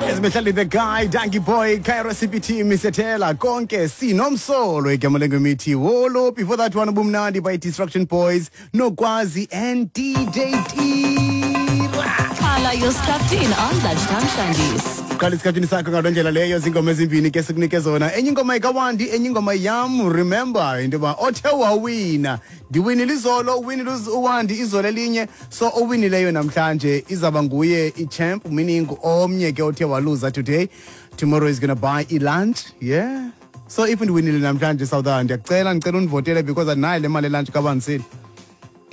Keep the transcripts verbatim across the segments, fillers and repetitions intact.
Ezimihlali the guy, Dankie Boy, Cairo C P T, Mister Taylor, konke sinomsolo igama lengoma Wolo. Before that one, Ubumnandi by Destruction Boys, Nokwazi and D J Tira. Qala you're strapped in on Lunchtime Shandies. Qala isikhathini sakho ngaloo ndlela leyo. Zingoma ezimbini ke sikunike zona, enye ingoma ikawandi, enye ingoma yam. Remember into yoba othe wawina, ndiwinile izolo, uwinile uwandi izolo elinye, so owinileyo namhlanje izawuba nguye i-champ, meaning omnye ke othe waluza today, tomorrow is gonna buy i-lunch. Yeah, so if ndiwinile namhlanje, Southern, ndiyakucela, ndicela undivotele because andinayo le mali e-lunch kabandisile,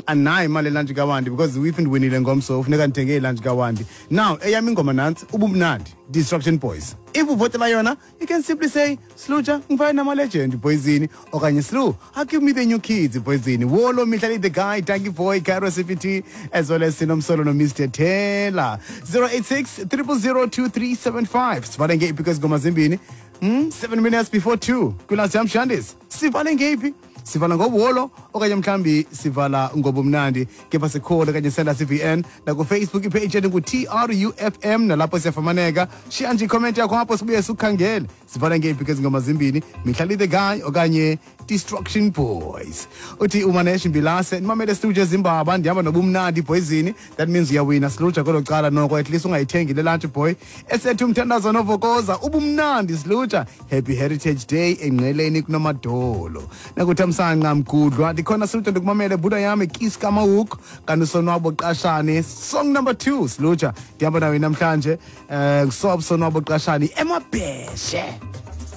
andinayo imali e-lunch kawandi, because if ndiwinile ngomso funeka ndithenge i-lunch kawandi. Now eyam ingoma nantsi, Ubumnandi, Destruction Boys. If uvotela yona, you can simply say, "Sluja, ngifane nama-legend boysini," okanye, "Slu, give me the New Kids boysini." Wolo Mihlali the guy, Dankie Boy, Cairo C P T, as well as Sinomsolo no Mister Taylor. zero eight six zero zero zero two three seven five. Sivale ngeyiphi kwezi ngoma zimbini? hmm? seven minutes before two kwi-Lunchtime Shandies. Sivale ngeyiphi? Sivala ngobolo okanye mhlambi sivala ngobumnandi? Kepha sikhona kanye senda C V N naku-Facebook i-page yethu ngu-T R U F M, nalapho siyafumaneka. Shiya nje i-comment yakho apho, sibuye sikukhangele. Sivala ngeyiphi kwezi ngoma zimbini, Mihlali the guy okanye Destruction Boys? Uthi umanesh mbilase, nimamele studio ezimbaba, ndihamba nobumnandi boyzini. That means uyawina, siluja, kwelo cala noko at least ungayithengi le lunch boy. Esethu umthandazo novokoza, ubumnandi siluja, happy Heritage Day engqeleni kunomadolo. Nakuthamsanqa mgudlwa, ndikhona siluja, ndikumamele buda yami kiska mawuk. Kanti usonwabo qashane, song number two siluja, ndihamba nawe namhlanje. Eh, sob Sonwabo Qashane emabheshe.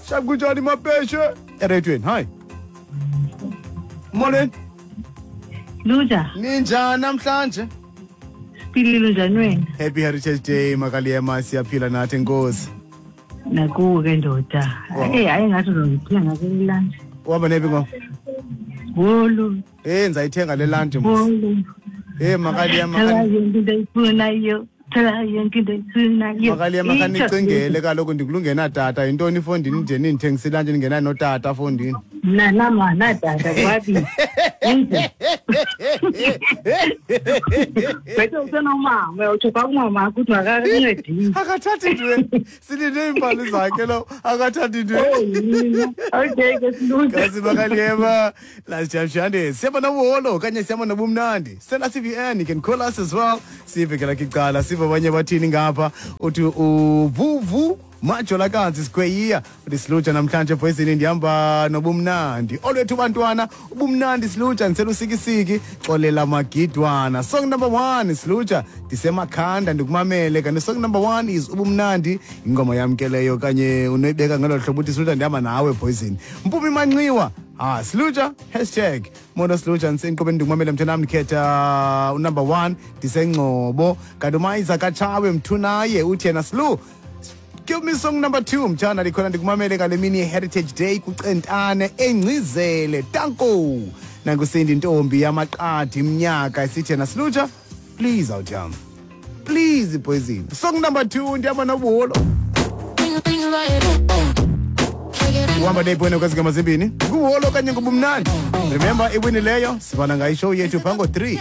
Shap, kunjani mabheshe? Ereyidweni, hi, molweni. Luja. Ninjani namhlanje? Siphilile, njani wena? Happy Heritage Day, makaliyema. Siyaphila nathi, enkosi. Nakuwe ke, ndoda. Wow. Eh, hayi, ngathi uzongithenga ke lunch. Uhamba nephi ngo? Wolo. Eh, ndizayithenga le lunch mos. Wolo. Eh, makaliyema. Thola yonke into ayifunayo. Thola yonke into ayifunayo. Makaliyema. Itsho. Khanicingele kaloku, ndikulungena tata yintoni ifondini nje, nindithengisa i-lunch ndingenayo notata fondini. Mna nama natata kwabi. Inje. Bethe usenomama, utsho kwakumama ukuthi makakuncedise. Akathathi ntweni, silinde iimbali zakhe lo, akathathi ntweni. Oh, yini. Okay ke silunge. Kasi makaliyema, Lunchtime Shandies, siyaba nobuholo okanye siyaba nobumnandi? Sela C V N, you can call us as well. Sive ke lakhe icala, sive abanye bathini ngapha. Uthi uvuvu majolakazi sikhweyiya, uthi, "Silutsha, namhlanje poisini ndihamba nobumnandi." Olwethu bantwana, ubumnandi silutsha, ndisela usikisiki, xolela magidwana. Song number one silutsha, ndisemakhanda ndikumamele. Kanti song number one is ubumnandi, ingoma yamkeleyo kanye unoyibeka ngelo hlobo, uthi, "Silutsha, ndihamba nawe poison." Mpumi Manxiwa, ah, silutsha, hashtag mono silutsha, ndisenkqubeni ndikumamele mthanam, ndikhetha u-number one, ndisengcobo. Kanti umayiza katshawe mthunaye uthi yena, "Slu, give me song number two mtshana, ndikhona ndikumamele ngale mini ye-Heritage Day kucentane engcizele tanko." Nankusindi intombi yamaqadi iminyaka isithi yena, "Silutsha, please, awutham, please poison, song number two, ndihamba nobuholo." Uhamba nephi wena kwezi ngoma zimbini, nguholo okanye ngubumnandi? Remember, iwini leyo sivana ngayo i-show yethu phaa ngo-three.